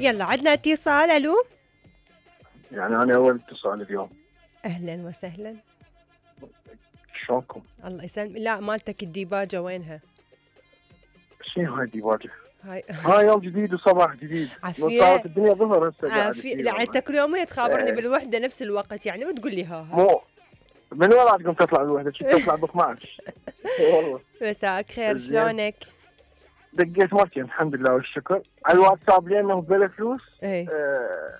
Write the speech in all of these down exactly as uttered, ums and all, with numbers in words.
يلا عندنا اتصال. الو يعني انا اول اتصال اليوم. اهلا وسهلا. شلونكم؟ الله يسلم. لا مالتك الديباجه وينها؟ شنو هاي الديباجه؟ هاي هاي يوم جديد وصباح جديد. عافية. صارت الدنيا ظهر هسه. عافية. لا انت كل يومين تخابرني ايه. بالوحده نفس الوقت يعني وتقول لي ها ها. مو من وين عندكم تطلع الوحده؟ شو تطلع ب اثنعش؟ والله. مساك خير شلونك؟ دقيت مرتين الحمد لله والشكر على الواتساب لانه بلا فلوس. ايه. آه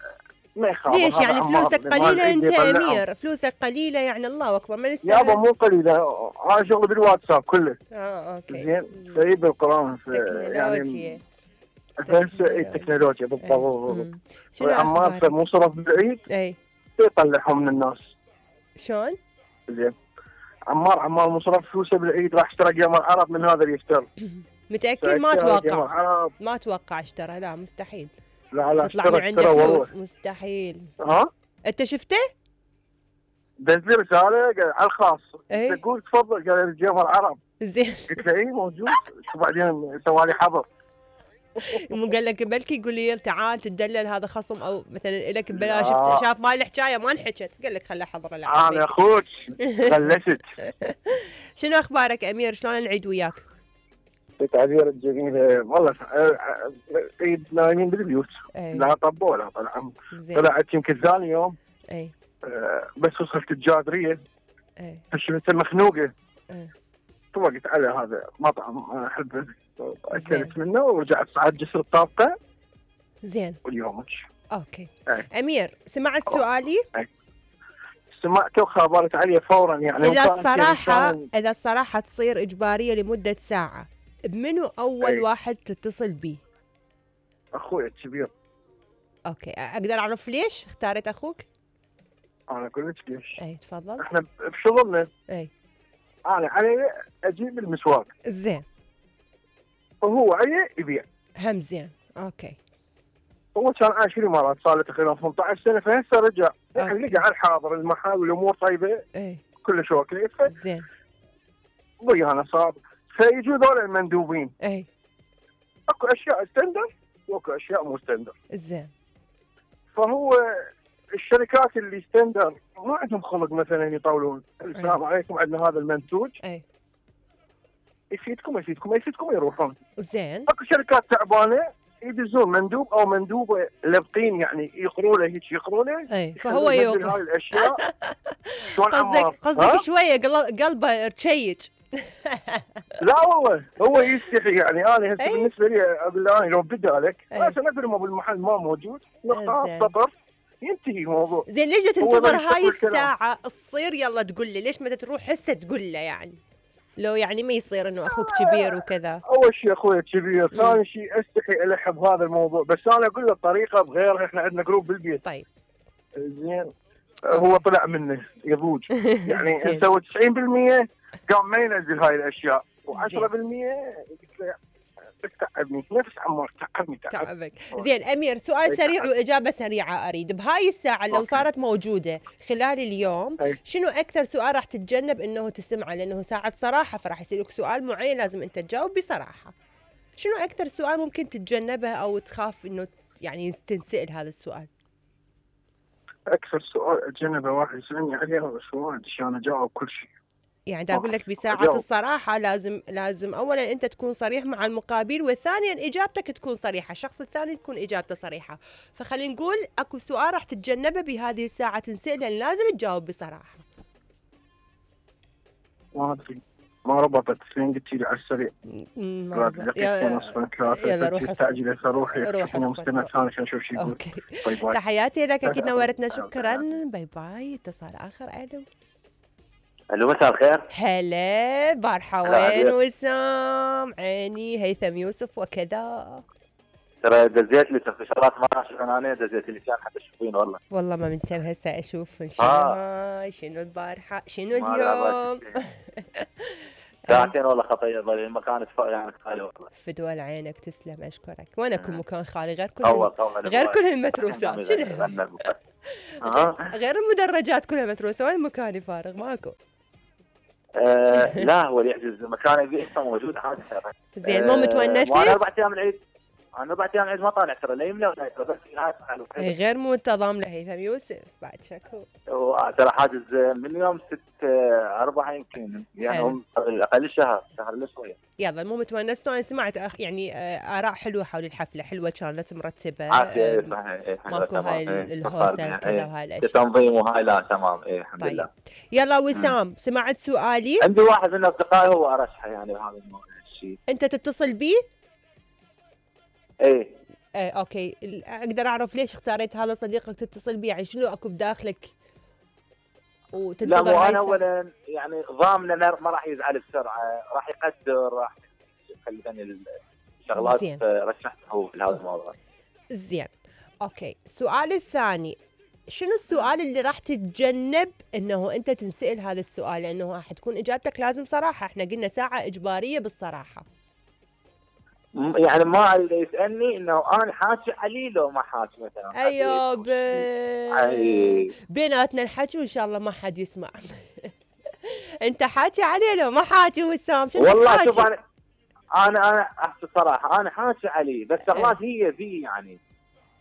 ما يخاف. ليش يعني فلوسك قليله انت امير؟ فلوسك قليله يعني الله اكبر ما نستاهل. يابا مو قليله انا شغل بالواتساب كله. اه اوكي زين سيب بالقران يعني هسه التكنولوجيا بالضبط. شنو عمار مو صرف بالعيد اي يطلعهم من الناس. شلون؟ زين عمار عمار مو صرف فلوسه بالعيد راح اشترى قمر عرب من هذا اللي يفتر. متاكد؟ ما اتوقع ما اتوقع اشترى. لا مستحيل. لا لا تطلع من عنده فلوس مستحيل. ها انت شفته؟ دز لي رساله على الخاص. ايه؟ تقول تفضل قال الجمهور عرب. زين قلت له اي موجود. شو بعدين سوى لي حظر. مو قال لك بلكي يقول لي تعال تدلل هذا خصم او مثلا لك ببلاش شفت شاف مال الحكايه ما انحكت قال لك خله حضره العافيه. انا اخوك غلست. شنو اخبارك امير؟ شلون نعيد وياك؟ تعبير الجميل والله. عيد نايمين بالبيوت. أي. لا طبوا ولا طلع. طلعت يمكن ثاني يوم. اي أه بس وصلت الجادريه. اي فشفت المخنوقه. اي طوقت على هذا مطعم انا احبه اكلت منه ورجعت صعد جسر الطابقه. زين واليومك. اوكي. أي. امير سمعت سؤالي؟ أي. سمعته وخابرت عليه فورا يعني. اذا الصراحه اذا الصراحه تصير اجباريه لمده ساعه بمنو اول أي. واحد تتصل بيه؟ اخوي الكبير. اوكي اقدر اعرف ليش اختاريت اخوك؟ انا اقول لك ليش. اي تفضل. احنا بشغلنا. اي انا علي اجيب المسواق. زين. وهو علي يبيع. هم زين. اوكي. هو كان عايش في الامارات صار له تقريبا ثمانية عشر سنه فهسه رجع يعني لقى على الحاضر المحل والامور طيبه. اي كلش اوكي. زين. ويانا صار فيجوا ذول المندوبين. اي اكو اشياء ستاندر واكو اشياء مو ستاندر. زين. فهو الشركات اللي ستاندر ما عندهم خلق مثلا يطولون. السلام عليكم عندنا هذا المنتوج. اي يفيدكم يفيدكم يفيدكم يروحون. زين. اكو شركات تعبانه يدزون مندوب او مندوبه لابقين يعني يقروا له هيك يقروا له. اي فهو يوقف هاي الاشياء. شلون قصدك قصدك شويه قلبه رشيج. لا والله هو يستحي يعني. انا هسه بالنسبه لي اقول له انا لو بدالك بس ندري بالمحل ما موجود نقطه سطر ينتهي الموضوع. زين ليش تنتظر هاي الساعه تصير يلا تقول لي؟ ليش ما تروح هسه تقول له يعني لو يعني ما يصير انه اخوك كبير وكذا؟ اول شيء اخوي كبير، ثاني شيء استحي الح بهذا الموضوع بس انا اقول له الطريقه بغيرها. احنا عندنا جروب بالبيت. طيب زين هو طلع منه يضوج يعني نسوي تسعين بالمئة قام ما ينزل هاي الاشياء وعشرة بالمئة تعبني نفس عمار تعبني تعبك. زين امير سؤال سريع واجابه سريعه اريد بهاي الساعه لو صارت موجوده خلال اليوم شنو اكثر سؤال راح تتجنب انه تسمعه؟ لانه ساعه صراحه فراح يصيرك سؤال معين لازم انت تجاوب بصراحه. شنو اكثر سؤال ممكن تتجنبه او تخاف انه يعني تنسال هذا السؤال؟ اكثر سؤال اتجنبه واحد يسالني عليه هذا السؤال عشان اجاوب كل شيء. يعني دا اقول لك بساعة الصراحة لازم لازم اولا انت تكون صريح مع المقابل وثانيا اجابتك تكون صريحة، الشخص الثاني تكون اجابته صريحة. فخلينا نقول اكو سؤال راح تتجنبه بهذه الساعة تنسأل لان لازم تجاوب بصراحة. ما ادري ما ربطت لين قلت لي على السريع. ما يلا روح استعجل روحي روح مستمع ثاني عشان نشوف شو يقول. اوكي باي باي. تحياتي لك اكيد نورتنا شكرا. باي باي. اتصال اخر. الو الو مساء الخير. هلا بارحة وين وسام؟ عيني هيثم يوسف وكذا. ترى دزيت لي شغلات ما عشان انا دزيت لي كان حتى تشوفين والله. والله ما منتبه هسه اشوف شنو آه. شنو البارحة شنو اليوم؟ ساعتين والله خطيه ظل المكان يعني خالي والله. فدوى عينك تسلم اشكرك. وين اكو مكان خالي غير كل أول الم... غير كل المتروسات شنو؟ غير المدرجات كلها متروسه وين مكاني فارغ ماكو؟ آه لا هو اللي يحجز مكان يبي موجود عادي. زين مو متونسه؟ وانا اربع ايام العيد انا بعد يوم عيد ما طالع ترى لا يملى ولا يترى، بس هاي اي غير منتظم لهيثم يوسف بعد شكو. ترى حاجز من يوم ستة أربعة يمكن، يعني هم اقل شهر شهر الا شويه. يلا المهم تونستوا. انا سمعت أخ يعني اراء حلوه حول الحفله، حلوه كانت مرتبه. عافيه صحيح. ماكو هاي الهوسه كذا وهاي الاشياء. التنظيم وهاي لا تمام. اي الحمد طيب. لله. يلا وسام سمعت سؤالي؟ عندي واحد من اصدقائي هو ارشحه يعني بهذا الشيء. انت تتصل بيه؟ ايه ايه اوكي. اقدر اعرف ليش اختاريت هذا صديقك تتصل بيه؟ يعني شنو اكو بداخلك لا مو انا اولا يعني ضامن ما راح يزعل بسرعه، راح يقدر، راح يخليني الشغلات رشحته في هذا الموضوع. زين اوكي. السؤال الثاني، شنو السؤال اللي راح تتجنب انه انت تنسال هذا السؤال؟ لانه راح تكون اجابتك لازم صراحه، احنا قلنا ساعه اجباريه بالصراحه. يعني ما يسالني انه انا حاكي عليه لو ما حاكي مثلا. ايوه ب... أي... بيناتنا الحكي وان شاء الله ما حد يسمع. انت حاكي عليه لو ما حاكي وسام؟ شنو والله شوف انا انا انا احكي صراحه انا حاكي عليه، بس شغلات هي فيه يعني.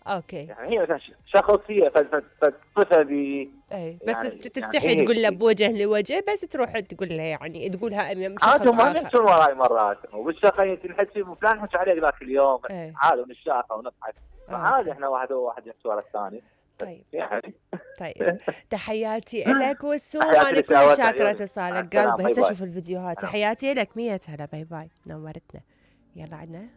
اوكي. يعني هي مثلا شخصيه فلسفه بي. اي بس يعني تستحي يعني تقول له بوجه لوجه، بس تروح تقول له يعني تقولها امام شخص عاد ما نحكي وراي مرات وبالشقه تنحكي فلان حكى عليك ذاك اليوم عادي ونشاطه ونضحك عادي، احنا واحد واحد يحكي ورا الثاني. طيب يعني طيب تحياتي لك وسوم، انا كل شاكره اتصالك قلبي. هسه اشوف الفيديوهات. تحياتي لك. مية هلا. باي باي نورتنا. يلا عندنا